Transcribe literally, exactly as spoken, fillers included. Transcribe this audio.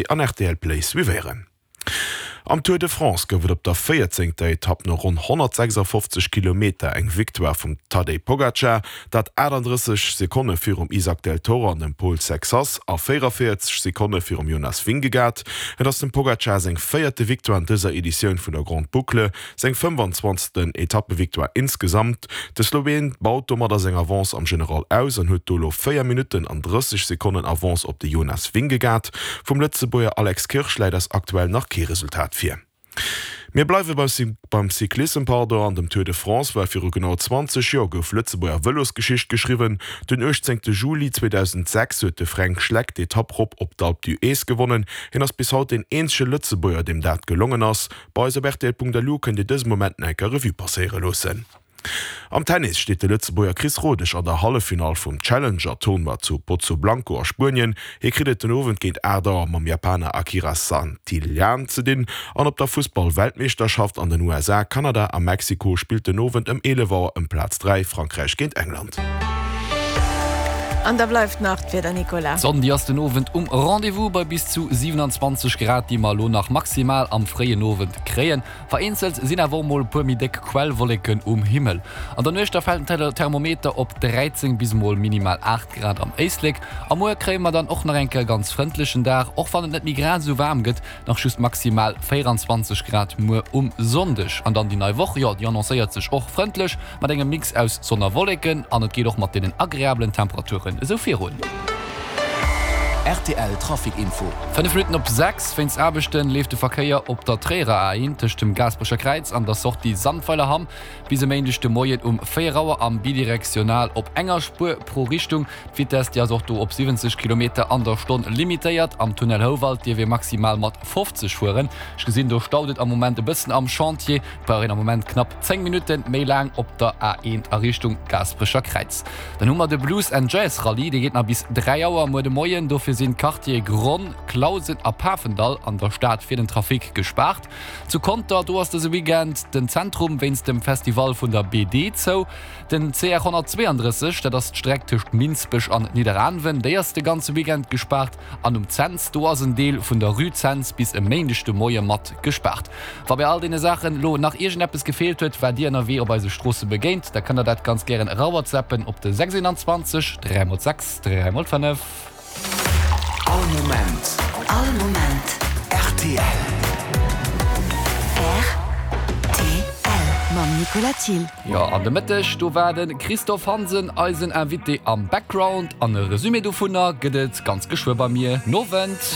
an R T L Play suivéieren. Am Tour de France gouf et op der véierzéngter Etapp no ronn honnertsechsafofzeg Kilometer eng Victoire vum Tadej Pogacar, dat aattenddrësseg Sekonne virum Isaac del Toro an dem Paul Sexas a véierundavéierzeg Sekonne virum Jonas Vingegaard. Et ass dem Pogacar seng véierte Victoire an dëser Editioun vun der Grande Boucle, seng fënnefanzwanzegsten Etappevictoire insgesamt. De Sloween baut domadder seng Avance am General aus an huet do elo véier Minutten an drësseg Sekonnen Avance op de Jonas Vingegaard. Vum Lëtzebuerger Alex Kirsch läit eis aktuell nach kee Resultat vir. Mir bleiwe beim Cyclissem, pardon, an dem Tour de France, well viru genau zwanzeg Joer gouf Lëtzebuerger Vëlosgeschicht geschriwwen. Den uechtzéngte Juli zweedausendsechs huet de Fränk Schleck d'Etapp rop op d'Alpe d'Huez gewonnen. Hien ass bis haut deen eenzege Lëtzebuerger, deem dat gelongen ass. Bei eis op rtl Punkt L U kënnt Dir dëse Moment nach eng Kéier Revue passéiere loossen. Am Tennis steet de Lëtzebuerger Chris Rodesch an der Halleffinall vum Challenger-Tournoi zu Pozoblanco a Spuenien. Hie kritt et den Owend géint aacht Auer mam Japaner Akira Santillan ze dinn. An op der Fussball-Weltmeeschterschaft an den U S A, Kanada a Mexiko spillt den Owend ëm eelef Auer ëm Plaz dräi Frankräich géint England. An da bleift nach d'Wieder, Nicolas. D'Sonn déi ass den Owend um Rendez-vous bei bis zu siewenundzwanzeg Grad, déi mer elo nach maximal am fréien Owend kréien. Vereenzelt sinn awer och mol e puer méi déck Quellwolleken um Himmel. An der Nuecht da fält den Thermometer op dräizéng bis mol minimal aacht Grad am Éislek. A muer kréie mer dann och nach eng Kéier e ganz frëndlechen Dag, och wann et net méi grad esou waarm gëtt, nach just maximal véieranzwanzeg Grad muer um Sonndeg. An dann déi nei Woch, jo déi annoncéiert sech och frëndlech mat engem Mix aus Sonn a Wolleken an et geet och mat deenen agreabelen Temperaturen esou virun. R T L Trafic Info. Fënnef Minutten op sechs. Wéinst Aarbechten leeft de Verkéier op der Tréierer A eent tëscht dem Gaasperecher Kräiz an der Sortie Sandweilerhamm bis e Méindeg de Moien um véier Auer am bidirektional op enger Spuer pro Richtung. D'Vitess déi ass och do op siwwenzeg Kilometer an der Stonn limitéiert. Am Tunnel Houwald dierf ee maximal mat fofzeg fueren. Ech gesinn do staut et am Moment e bëssen am Chantier. Et brauch een am Moment knapp zéng Minutte méi laang op der A eent a Richtung Gaasperecher Kräiz. Dann hu mer de Blues and Jazz Rallye, dee geet nach bis dräi Auer muer de Moien. Dofir sinn d'Quartiere Gronn, Clausen a Pafendall an der Stad fir den Trafic gespaart. Zu Conter, do ass dëse Weekend den Zentrum wéinst dem Festival vun der B D zou. Den C R honnertzweeandrësseg, dat ass d'Streck tëscht Minsbech an Nidderaanwen, déi ass de ganze Weekend gespaart. An um Cents, do ass en Deel vun der Rue Cents bis e Méindeg de Moie mat gespaart. Wa bei all deene Saachen elo nach iergendeppes gefeelt huet, wat Dir ënnerwee op eise Stroosse begéint, da kënnt der dat ganz gären erawhatsAppen op de sechsundzwanzeg dräi mol sechs dräi mol fënnef. All Moment. All Moment. R T L. R T L mam Nicolas Thiel. Jo, an de Mëtteg, do war de Christophe Hansen eisen Invité am Background an e Resumé dovunner gëtt et ganz geschwë bei mir. Nowend.